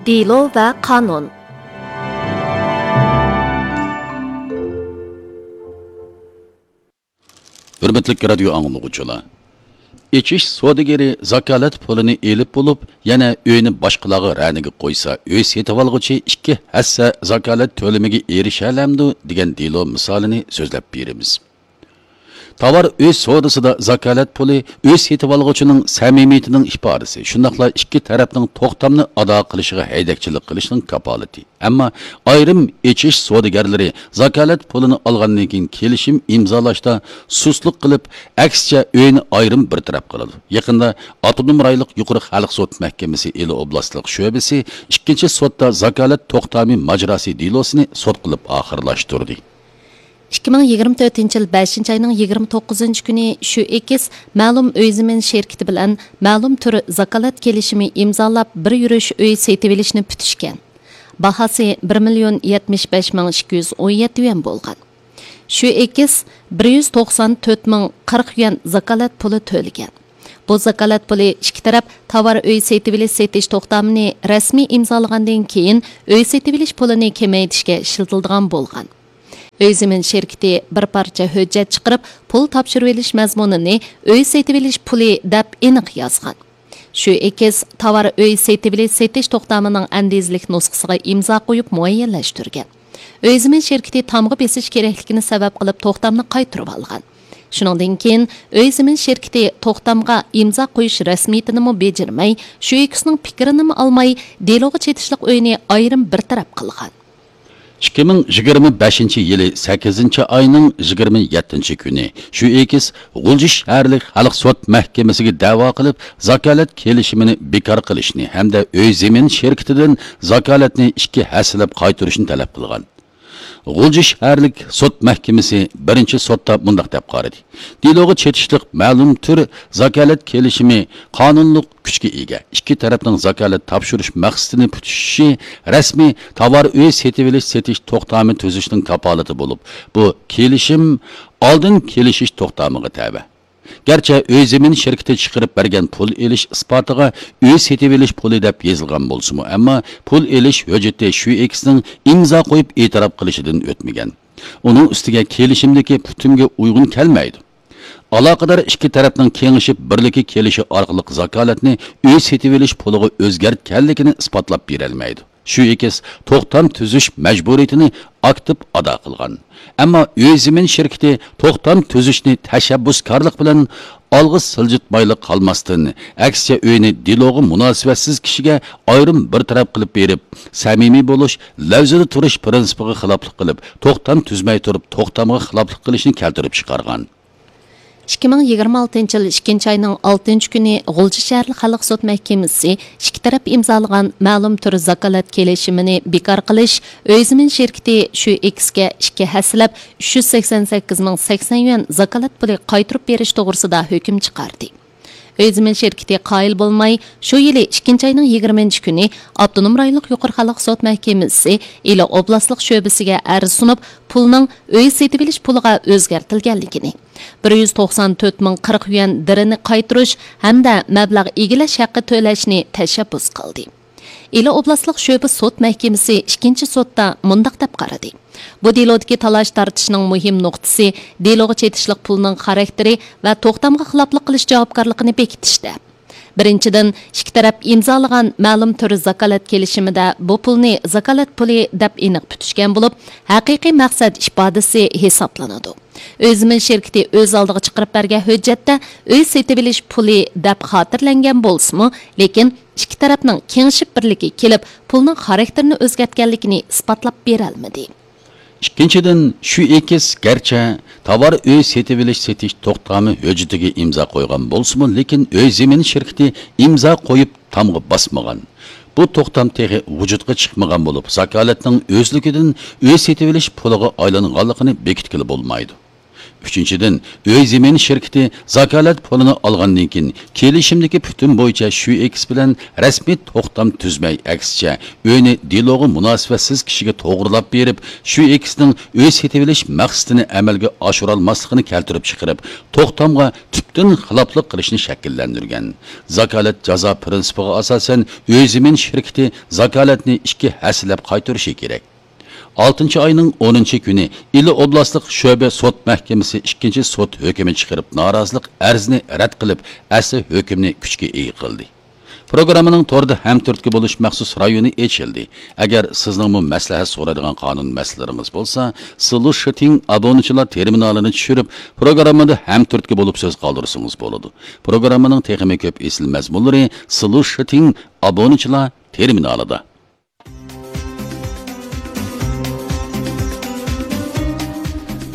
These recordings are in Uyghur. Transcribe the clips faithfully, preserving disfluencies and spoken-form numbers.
دېلو ۋە قانۇن. ھۆرمەتلىك رادىيو ئاڭلىغۇچىلار! ئېچىش سودىگىرى زاكالەت پۇلىنى ئېلىپ بولۇپ، يەنە ئۆينى باشقىلارغا رەنىگە قويسا، ئۆي سېتىۋالغۇچى ئىككى ھەسسە زاكالەت تۆلىمىگە ئېرىشەلەمدۇ؟ دېگەن دېلو مىسالىنى سۆزلەپ بېرىمىز. تاۋار ئۆي سودىسىدا زاكالەت پۇلى ئۆي سېتىۋالغۇچىنىڭ سەمىمىيىتىنىڭ ئىپادىسى، شۇنداقلا ئىككى تەرەپنىڭ توختامنى ئادا قىلىشىغا ھەيدەكچىلىك قىلىشنىڭ كاپالىتى. ئەمما ئايرىم ئېچىش سودىگەرلىرى زاكالەت پۇلىنى ئالغاندىن كېيىن كېلىشىم ئىمزالاشتا سۇسلۇق قىلىپ، ئەكسىچە ئۆينى ئايرىم بىر تەرەپ قىلىدۇ. يېقىندا ئاپتونوم رايونلۇق يۇقىرى خەلق سوت مەھكىمىسى ئىلى ئوبلاستلىق شۆبىسى ئىككىنچى سوتتا زاكالەت توختامى ماجىراسى دېلوسىنى سوت قىلىپ ئاخىرلاشتۇردى. ئىككى مىڭ يىگىرمە تۆتىنچى يىل بەشىنچى ئاينىڭ يىگىرمە توققۇزىنچى كۈنى شۈ ئېكس مەلۇم ئۆي زېمىن شىركىتى بىلەن مەلۇم تۈر زاكالەت كېلىشىمى ئىمزالاپ، بىر يۈرۈش ئۆي سېتىۋېلىشنى پۈتۈشكەن. باھاسى بىر مىليون يەتمىش بەش مىڭ ئىككى يۈز ئون يەتتە يۈەن بولغان. شۈ ئېكس بىر يۈز توقسان تۆت مىڭ قىرىق يۈەن زاكالەت پۇلى تۆلىگەن. بۇ زاكالەت پۇلى ئىككى تەرەپ تاۋار ئۆي سېتىۋېلىش سېتىش توختامىنى رەسمىي ئىمزالىغاندىن كېيىن، ئۆي سېتىۋېلىش پۇلىنى كېمەيتىشكە ئىشلىتىلىدىغان بولغان. ئۆي زېمىن شىركىتى بىر پارچە ھۆججەت چىقىرىپ، پۇل تاپشۇرۇۋېلىش مەزمۇنىنى ئۆي سېتىۋېلىش پۇلى دەپ ئېنىق يازغان. شۈ ئېكس تاۋار ئۆي سېتىۋېلىش سېتىش توختامىنىڭ ئەندىزىلىك نۇسخىسىغا ئىمزا قويۇپ مۇئەييەنلەشتۈرگەن. ئۆي زېمىن شىركىتى تامغا بېسىش كېرەكلىكىنى سەۋەب قىلىپ توختامنى قايتۇرۇۋالغان. شۇنىڭدىن كېيىن ئۆي زېمىن شىركىتى توختامغا ئىمزا قويۇش رەسمىيىتىنىمۇ بېجىرمەي، شۈ ئېكسنىڭ پىكرىنىمۇ ئالماي، دېلوغا چېتىشلىق ئۆينى ئايرىم بىر تەرەپ قىلغان. ئىككى مىڭ يىگىرمە بەشىنچى يىلى سەككىزىنچى ئاينىڭ يىگىرمە يەتتىنچى كۈنى شۈ ئېكس غۇلجا شەھەرلىك خەلق سوت مەھكىمىسىگە دەۋا قىلىپ، زاكالەت كېلىشىمىنى بىكار قىلىشنى ھەمدە ئۆي زېمىن شىركىتىدىن زاكالەتنى ئىككى ھەسسىلەپ قايتۇرۇشنى تەلەپ قىلغان. غۇلجا شەھەرلىك سوت مەھكىمىسى بىرىنچى سوتتا مۇنداق دەپ قارىدى: دېلوغا چېتىشلىق مەلۇم تۈر زاكالەت كېلىشىمى قانۇنلۇق كۈچكە ئىگە. ئىككى تەرەپنىڭ زاكالەت تاپشۇرۇش مەقسىتىنى پۈتۈشۈشى رەسمىي تاۋار ئۆي سېتىۋېلىش سېتىش توختامى تۈزۈشنىڭ كاپالىتى بولۇپ، بۇ كېلىشىم ئالدىن كېلىشىش توختامىغا تەۋە. گەرچە ئۆي زېمىن شىركىتى چىقىرىپ بەرگەن پۇل ئېلىش ئىسپاتىغا ئۆي سېتىۋېلىش پۇلى دەپ يېزىلغان بولسىمۇ، ئەمما پۇل ئېلىش ھۆججىتى شۈ ئېكسنىڭ ئىمزا قويۇپ ئېتىراپ قىلىشىدىن ئۆتمىگەن. ئۇنىڭ ئۈستىگە كېلىشىمدىكى پۈتۈمگە ئۇيغۇن كەلمەيدۇ. ئالاقىدار ئىككى تەرەپنىڭ كېڭىشىپ بىرلىككە كېلىشى ئارقىلىق زاكالەتنى ئۆي سېتىۋېلىش پۇلىغا ئۆزگەرتكەنلىكىنى ئىسپاتلاپ بېرەلمەيدۇ. شۈ ئېكس توختام تۈزۈش مەجبۇرىيىتىنى ئاكتىپ ئادا قىلغان. ئەمما ئۆي زېمىن شىركىتى توختام تۈزۈشنى تەشەببۇسكارلىق بىلەن ئالغا سىلجىتمايلا قالماستىن، ئەكسىچە ئۆينى دېلوغا مۇناسىۋەتسىز كىشىگە ئايرىم بىر تەرەپ قىلىپ بېرىپ، سەمىمىي بولۇش، لەۋزىدە تۇرۇش پىرىنسىپىغا خىلاپلىق قىلىپ، توختام تۈزمەي تۇرۇپ، توختامغا خىلاپلىق قىلىشنى كەلتۈرۈپ چىقارغان. ئىككى مىڭ يىگىرمە ئالتىنچى يىل ئىككىنچى ئاينىڭ ئالتىنچى كۈنى غۇلجا شەھەرلىك خەلق سوت مەھكىمىسى ئىككى تەرەپ ئىمزالىغان مەلۇم تۈر زاكالەت كېلىشىمىنى بىكار قىلىش، ئۆي زېمىن شىركىتى شۈ ئېكسكە ئىككى ھەسسىلەپ ئۈچ يۈز سەكسەن سەككىز مىڭ سەكسەن يۈەن زاكالەت پۇلى قايتۇرۇپ بېرىش توغرىسىدا ھۆكۈم چىقاردى. ئۆي زېمىن شىركىتى قايىل بولماي، شۇ يىلى ئىككىنچى ئاينىڭ يىگىرمىنچى كۈنى ئاپتونوم رايونلۇق يۇقىرى خەلق سوت مەھكىمىسى ئىلى ئوبلاستلىق شۆبىسىگە ئەرز سۇنۇپ، پۇلنىڭ ئۆي سېتىۋېلىش پۇلىغا ئۆزگەرتىلگەنلىكىنى، بىر يۈز توقسان تۆت مىڭ قىرىق يۈەن دىرىنى قايتۇرۇش ھەمدە مەبلەغ ئىگىلەش ھەققى تۆلەشنى تەشەببۇس قىلدى. ئىلى ئوبلاستلىق شۆبە سوت مەھكىمىسى ئىككىنچى سوتتا مۇنداق دەپ قارىدى: بۇ دېلودىكى تالاش-تارتىشنىڭ مۇھىم نۇقتىسى دېلوغا چېتىشلىق پۇلنىڭ خاراكتېرى ۋە توختامغا خىلاپلىق قىلىش جاۋابكارلىقىنى بېكىتىشتە. بىرىنچىدىن، ئىككى تەرەپ ئىمزالىغان مەلۇم تۈر زاكالەت كېلىشىمىدە بۇ پۇلنى زاكالەت پۇلى دەپ ئېنىق پۈتۈشكەن بولۇپ، ھەقىقىي مەقسەت ئىپادىسى ھېسابلىنىدۇ. ئۆي زېمىن شىركىتى ئۆز ئالدىغا چىقىرىپ بەرگەن ھۆججەتتە ئۆي سېتىۋېلىش پۇلى دەپ خاتىرىلەنگەن بولسىمۇ، لېكىن ئىككى تەرەپنىڭ كېڭىشىپ بىرلىككە كېلىپ، پۇلنىڭ خاراكتېرىنى ئۆزگەرتكەنلىكىنى ئىسپاتلاپ بېرەلمىدى. ئىككىنچىدىن، شۈ ئېكس گەرچە تاۋار ئۆي سېتىۋېلىش سېتىش توختامى ھۆججىتىگە ئىمزا قويغان بولسىمۇ، لېكىن ئۆي زېمىن شىركىتى ئىمزا قويۇپ تامغا باسمىغان. بۇ توختام تېخى ۋۇجۇدقا چىقمىغان بولۇپ، زاكالەتنىڭ ئۆزلۈكىدىن ئۆي سېتىۋېلىش پۇلىغا ئايلانغانلىقىنى بېكىتكىلى بولمايدۇ. ئۈچىنچىدىن، ئۆي زېمىن شىركىتى زاكالەت پۇلىنى ئالغاندىن كېيىن، كېلىشىمدىكى پۈتۈن بويىچە شۈئېكس بىلەن رەسمىي توختام تۈزمەي، ئەكسىچە، ئۆينى دېلوغا مۇناسىۋەتسىز كىشىگە توغرىلاپ بېرىپ، شۈئېكسنىڭ ئۆي سېتىۋېلىش مەقسىتىنى ئەمەلگە ئاشۇرالماسلىقىنى كەلتۈرۈپ چىقىرىپ، توختامغا تۈپتىن خىلاپلىق قىلىشنى شەكىللەندۈرگەن. زاكالەت جازا پىرىنسىپىغا ئاساسەن، ئۆي زېمىن شىركىتى زاكالەتنى ئىككى ھەسسىلەپ قايتۇرۇشى كېرەك. ئالتىنچى ئاينىڭ ئونىنچى كۈنى ئىلى ئوبلاستلىق شۆبە سوت مەھكىمىسى ئىككىنچى سوت ھۆكمى چىقىرىپ، نارازىلىق ئەرزىنى رەت قىلىپ، ئەسلى ھۆكۈمنى كۈچكە ئىگە قىلدى. پروگراممىنىڭ توردا ھەمتۈرتكە بولۇش مەخسۇس رايونى ئېچىلدى. ئەگەر سىزنىڭمۇ مەسلىھەت سورايدىغان قانۇن مەسىلىلىرىڭىز بولسا، سلۇشىتىڭ ئابۇنىچىلار تېرمىنالىنى چۈشۈرۈپ، پروگراممىدا ھەمتۈرتكە بولۇپ سۆز قالدۇرسىڭىز بولىدۇ. پروگراممىنىڭ تېخىمۇ كۆپ ئېسىل مەزمۇنلىرى سلۇشىتىڭ ئابۇنىچىلار تېرمىنالىدا.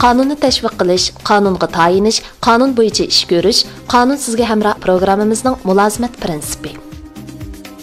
قانۇننى تەشۋىق قىلىش، قانۇنغا تايىنىش، قانۇن بويىچە ئىش كۆرۈش، قانۇن سىزگە ھەمراھ پروگراممىمىزنىڭ مۇلازىمەت پىرىنسىپى.